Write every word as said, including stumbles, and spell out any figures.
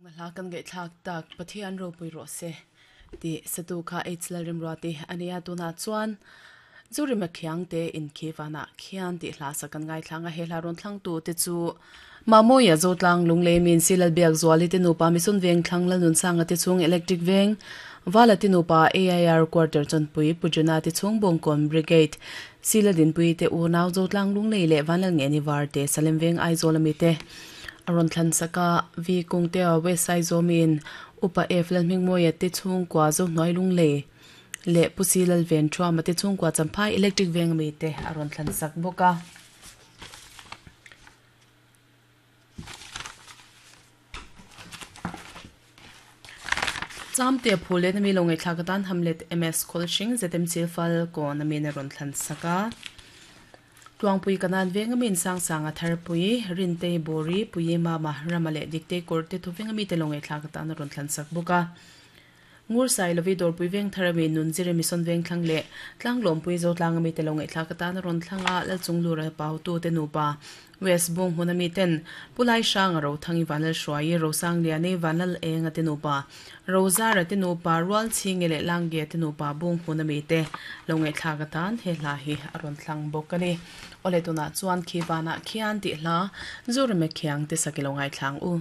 Hla kan ngai thlak tak Pathian ropui rawh se ti satu kha H Lalremruati ania tuna chuan Zorema Khiangte in khiwana khian ti hla sa kan ngai thlanga he hla ron thlang tu te chu Mamoya Zotlang Lunglei min Silal Biak Zuali te nupa Mison Veng thlang la nun sanga te chung Electric Veng Vala te nupa A I R Quarter Chonpui Pujuna te chung Bongkon Brigade Sila Dinpui te unau Zotlang Lunglei le Vanlal nge ni var te Salem Veng Aizawl ami te aron thlan saka V Kungte West Side Zomin Upa F Lalhmingmawia te chung kwa zo hnoi Lunglei le Pusi Lalven Thua te chung kwa Champhai Electric Veng ami te aron thlan sak boka. Cham te phule na mi longai thlakatan Hamlet M S Kholshing Z M Chilfal ko na mi na ron thlan saka. Tuangpui kanan veng amin sang sanga tharpui rinte bori pui mama ramale dikte korte thuveng ami te longai thlakatan ron thlan sak boka. Ngur sai lovi dor pui veng tharami nun jire mison veng thlang le tlang lom pui zo tlang ami te longai thlakatan ron thlanga lal chunglura pau tu te nupa West Bung hunami ten pulai sang ro thangi vanal shwai ro sang liani vanal enga te nupa rozara te nupa rual chingele langge te nupa bung hunami te longai thlakatan he hla hi aron thlang bokani ole tuna chuan khiwana khian ti hla Zorema Khiangte sakilongai thlang u.